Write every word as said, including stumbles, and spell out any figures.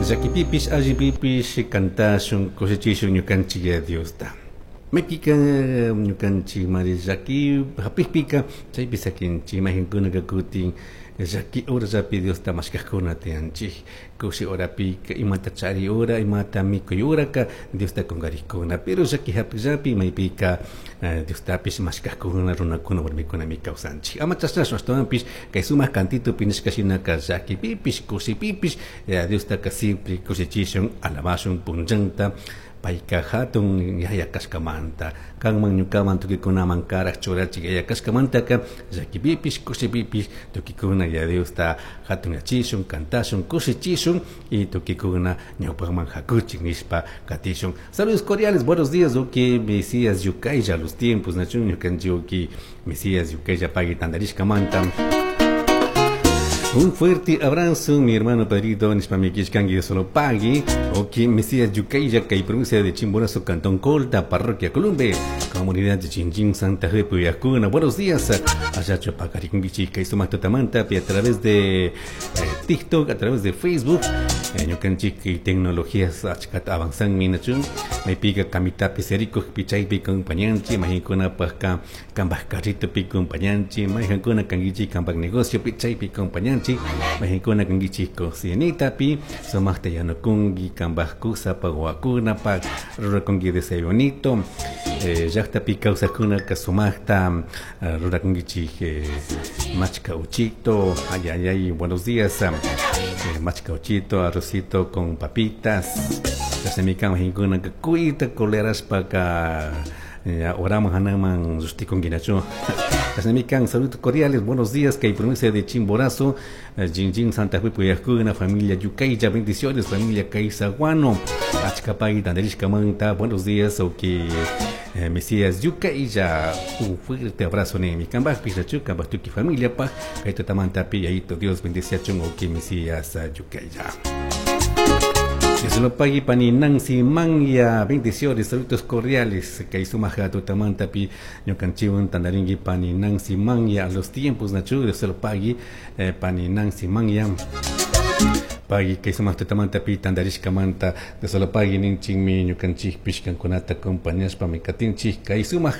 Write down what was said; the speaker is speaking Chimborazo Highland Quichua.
Llaquipipish allipipish cantashun kushichishu ñukanchik Diosta. Maypika ñukanchik mari llaki hapikpika chaypi sakinchik mayqinkunaka kutin llaki horallapi Diosta mashkakuna tiyanchik kushi horapika imata chari hora imata mikuy horaka Diosta kunkarikuna pero llaki hapikllapi maypika Diostapish mashkakuna runakuna warmikunami kawsanchik ama chashnashun ashtawanpish kay sumak cantitupi nishka shinaka llakipipish kushipipish Diostaka siempre kushichishun alabashun punllanta payka hatun yaya kashkamanta kanman ñukaman tukuykunaman karak churachik yaya kashkamantaka llakipipish kushipipish tukuykuna ya Diosta hatunyachishun kantashun kushichishun y tukuykuna ñawpakman hakuchik nishpa katishun. Saludos cordiales, buenos días, uki Mesías Yukaylla, los tiempos nachun ñukanchik uki Mesías Yukaylla pagui tandarishkamanta. Un fuerte abrazo, mi hermano Pedrito, nishpamikishkanki solo pagui, ok, Mesías Yukaylla, kay provincia de Chimborazo, Cantón Colta, Parroquia Columbe, comunidad de Chinchín, Santa Fe, Puyacuna. Buenos días, allá Chopacarikungichi, kay sumak tutamanta, a través de eh, TikTok, a través de Facebook, ñukanchik eh, tecnologías achkata avanzan minachun, maypika kamitapi serikuqpi chaypi compañanchik, mayqinkunapaq kanpaj carritopi compañanchik, mayqankuna kankichik kanpaj negociopi chaypi compañanchik, mayqankuna kankichik cocinitapi sumaqta yanukunki kanpaj kusapaq wawakunapaq rurakunki desayunito eh, llaqtapi kawsaqkunaka sumaqta uh, rurakunkichik eh, machka uchito, ay ay ay, buenos días, eh, machka uchito, arrocito con papitas, chashnami kan mayqinkunaka kuyta colerashpaka oraman hanaman llushtikunki Chashnami kan saludos cordiales, buenos días, kay provincia de Chimborazo, Jinjin Santa Fe Puyajuna, familia Yucaylla, bendiciones, familia Caizaguano, Achkapay, Tandarishkamanta, buenos días, ok, eh, Mesías Yucaylla, un fuerte abrazo ni kambaj, pichachu, kambaj tuki familia, pa, kay tutamanta pi, yayito Dios bendiciachun, ok, Mesías Yucaylla. Dios lo pague pani Nancy Manya, bendiciones, saludos cordiales, kay sumak tutamanta pi ñukanchikwan tandarinki pani Nancy Manya, a los tiempos nachu, Dios lo pague eh, pani Nancy Manya. Pagui kay sumak tutamanta pi tandarishkamanta Dios lo pague ninchikmi ñukanchikpish kankunata acompañashpami katinchik kay sumak